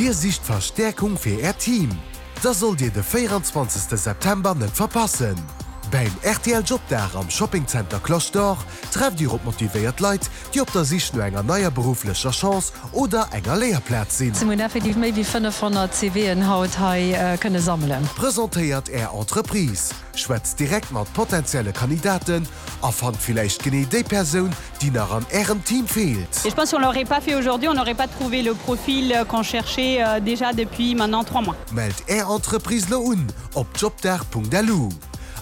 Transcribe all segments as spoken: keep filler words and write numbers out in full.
Dir sicht Verstäerkung fir Äert Team? Da sollt Dir de véieranzwanzegste September net verpassen! Beim rtl Jobdag am Shopping Center Cloche d'Or trefft Dir op motivéiert Leit, déi op der Sich no enger neier berufflecher Chance oder enger Léierplaz sinn. Mir hunn effektiv méi wéi fënnefhonnert CVen haut hei kënne sammelen. Presentéiert Är Entreprise, schwätzt direkt mat potenzielle Kandidaten a fannt villäicht genee déi Persoun, déi nach an Ärem Team feelt. Et je pense si on l'aurait pas fait aujourd'hui, on n'aurait pas trouvé le profil qu'on cherchait déjà depuis maintenant trois mois. Mellt Är Entreprise lo un op jobdag.lu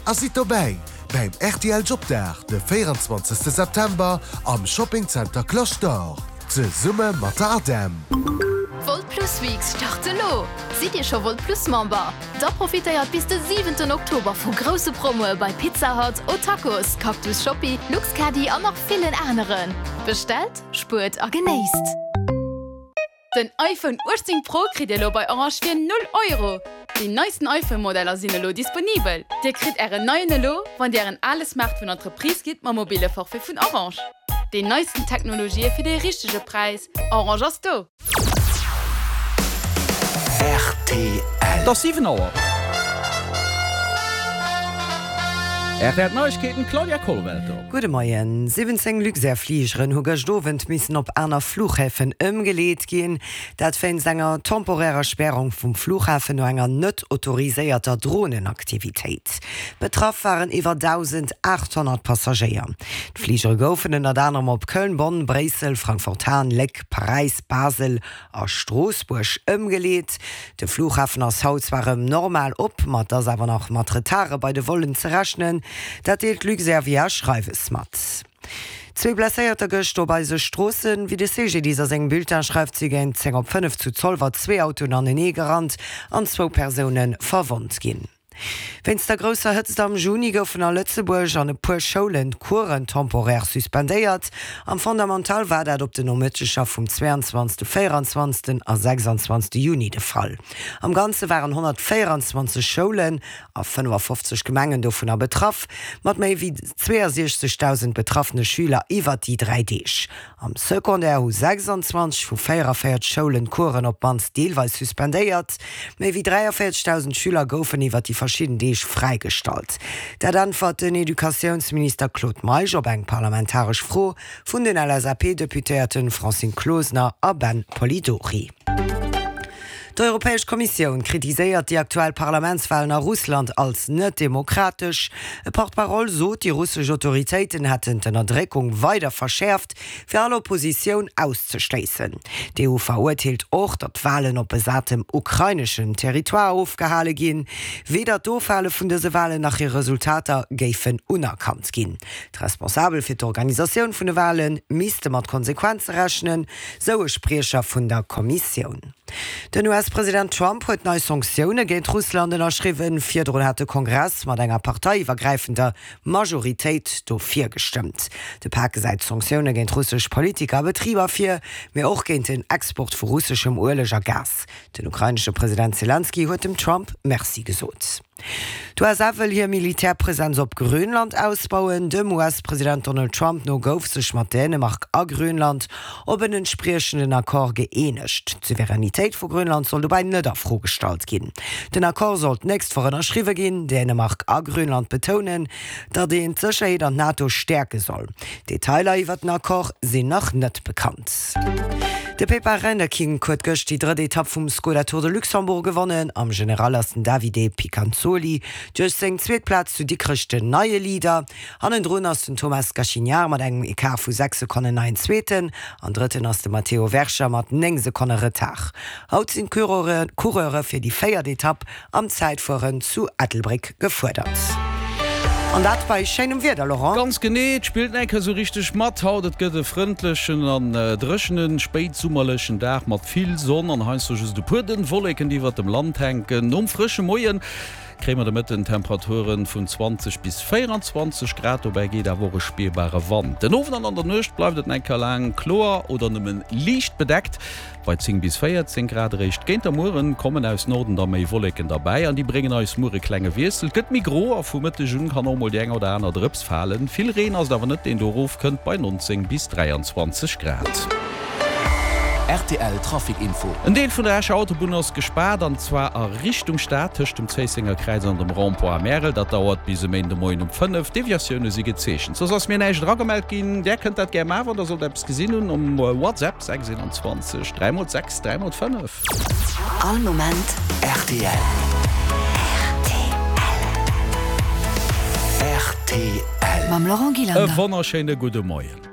a sidd dobäi beim rtl Jobdag de véieranzwanzegste September am Shopping Center Cloche d'Or zesumme mat der ADEM. D'Wolt Plus Weeks start elo! Sidd Dir scho Wolt Plus Member? Da profitéiert bis de siwenten Oktober vu grousse Promoe bei Pizza Hut, O'Tacos, Cactus Shoppi, Luxcaddy an nach villen aneren. Bestellt, spuert a genéisst! Den iPhone uechtzéng Pro kritt Dir elo bei Orange fir null Euro! Déi neisten iPhone-Modeller sinn elo disponibel. Dir kritt Ären neien elo, wann Dir Ären ale Smartphone an d'Reprise gitt mam mobile Forfait vun Orange. Déi neisten Technologië fir dee richtege Präis, Orange ass do! Rtl. Et ass siwen Auer. Rtl Neiegkeeten, Claudia Kollwelter. Gudde Moien. siwwenzéng Luxair-Fligeren hu gëscht Owend missen op aner Fluchhäfen ëmgeleet ginn. Dat wéinst enger temporärer Spärung vum Flughafen no enger net autoriséierter Dronenaktivitéit. Betraff waren iwwer dausendachthonnert Passagéier. D'Fligere goufen ënnert anerem op Köln, Bonn, Bréissel, Frankfurt-Hahn, Léck, Paräis, Basel a Stroossbuerg ëmgeleet. De Flughafen ass haut zwar erëm normal op, ma et ass awer nach mat Retarde bei de Vollen ze rechnen. Dat deelt Luxair via Schreiwes mat. Zwee Blesséierter gëscht op eise Stroossen. Wéi de C G D I S a sengem Bulletin schreift, si géint zéng op fënnef zu Zolwer zwee Autoen anenee gerannt an zwou Persoune verwonnt ginn. Wéinst der grousser Hëtzt am Juni goufen a Lëtzebuerg an e puer Schoulen d'Coursen temporär suspendéiert. Am Fondamental war dat op den Nomëtteger vum zweiandzwanzegsten, véierandzwanzegsten a sechsandzwanzegste Juni de Fall. Am Ganze waren honnertvéierandzwanzeg Schoulen a fënnefafofzeg Gemengen dovunner betraff, mat méi wéi zweeësiechzegdausend betraffene Schüler iwwert déi dräi Deeg. Am Secondaire hu sechsandzwanzeg vu véierevéierzeg Schoulen d'Coursen op d'mannst deelweis suspendéiert. Méi wéi dräiavéierzegdausend Schüler goufen iwwert déi verschidden Deeg fräigestallt. Dat äntwert den Educatiounsminister Claude Meisch op eng parlamentaresch Fro vun den L S A P-Deputéierten Francine Closener a Ben Polidori. D'Europäesch Kommissioun kritiséiert déi aktuell Parlamentswalen a Russland als net demokratesch. E Porte-parole sot, déi russesch Autoritéiten hätten d'Ënnerdréckung weider verschäerft, fir all Oppositioun auszeschléissen. D'E U verurteelt och, datt d'Walen op besatem ukraineschem Territoire ofgehale ginn. Weder d'Ofhale vun dëse Walen nach hir Resultater géifen unerkannt ginn. D'Responsabel fir d'Organisatioun vun de Wale misste mat Konsequenze rechnen, sou e Spriecher vun der Kommissioun. Den U S-President Trump huet nei Sanktioune géint Russland ënnerschriwwen. Virdrun hat de Kongress mat enger parteiiwwergräifender Majoritéit dofir gestëmmt. De Pak gesäit Sanktioune géint russesch Politiker a Betriber vir, mee och géint den Export vu russeschem Ueleg a Gas. Den ukrainesche President Selenskyj huet dem Trump Merci gesot. D'U S A wëll hir Militärpresenz op Grönland ausbauen. Dem U S-President Donald Trump no gouf sech mat Dänemark a Grönland op en entspriechenden Accord gëeenegt. D'Souveränitéit vu Grönland soll dobäi net a Fro gestallt ginn. Den Accord soll d'nächst Woch ënnerschriwwe ginn. Dänemark a Grönland betounen, datt een d'Sécherheet an d'NATO stäerke soll. Detailer iwwer den Accord sinn nach net bekannt. De Pepijn Rinderkink huet gëscht déi drëtt Etapp vum Skoda Tour de Luxembourg gewonnen. Am General ass den Davide Picanzoli duerch seng zweet Plaz zu Dikrech den neie Leader. Hannendrun ass den Thomas Gachignard mat engem Ecart vu sechs Sekonnen neien Zweeten an Drëtten ass de Matteo Vercher mat néng Sekonne Retard. Haut sinn d'Coureure fir déi véiert Etapp am Zäitfueren zu Ettelbréck gefuerdert. An dat bei schéinem Wieder, Laurent. Ganz genee, et spillt eng Kéier sou richteg mat haut. Et gëtt e frëndlechen an dréchene spéitsummerlechen Dag mat vill Sonn an heiansdo just e puer dënn Wolleken, déi iwwert dem Land hänken. Nom frësche Moie kréie mer de Mëtten Temperature vun zwanzeg bis véieranzwanzeg Grad, dobäi geet awer och e spierbare Wand. Den Owend an an der Nuecht bleift et eng Kéier laang kloer oder nëmme liicht bedeckt bei zéng bis véierzéng Grad. Eréischt géint der Mueren kommen aus Norden da méi Wolleken derbäi an déi bréngen eis muer e klenge Wiessel. Et gëtt méi gro a vu Mëtteg un kann och mol déi eng oder aner Drëps falen. Vill Reen ass et awer net, deen do erofkënnt bei nonzéng bis dräianzwanzeg Grad. Rtl Trafic Info. En Deel vun der Escher Autobunn ass gespaart, an zwar a Richtung Stad tëscht dem Zéissenger Kräiz an dem Rond-point Märel. Dat dauert bis e Méindemoien um fënnef. Deviatioune si gezeechent. Soss ass mir näischt eragemellt ginn. Där kënnt dat gär maachen, wann der sollt eppes gesinn hunn, um WhatsApp sechs eenanzwanzeg dräi mol sechs dräi mol fënnef. All Moment rtl. Rtl. Mam Laurent E Gillander. wonnerschéine gudde Moien.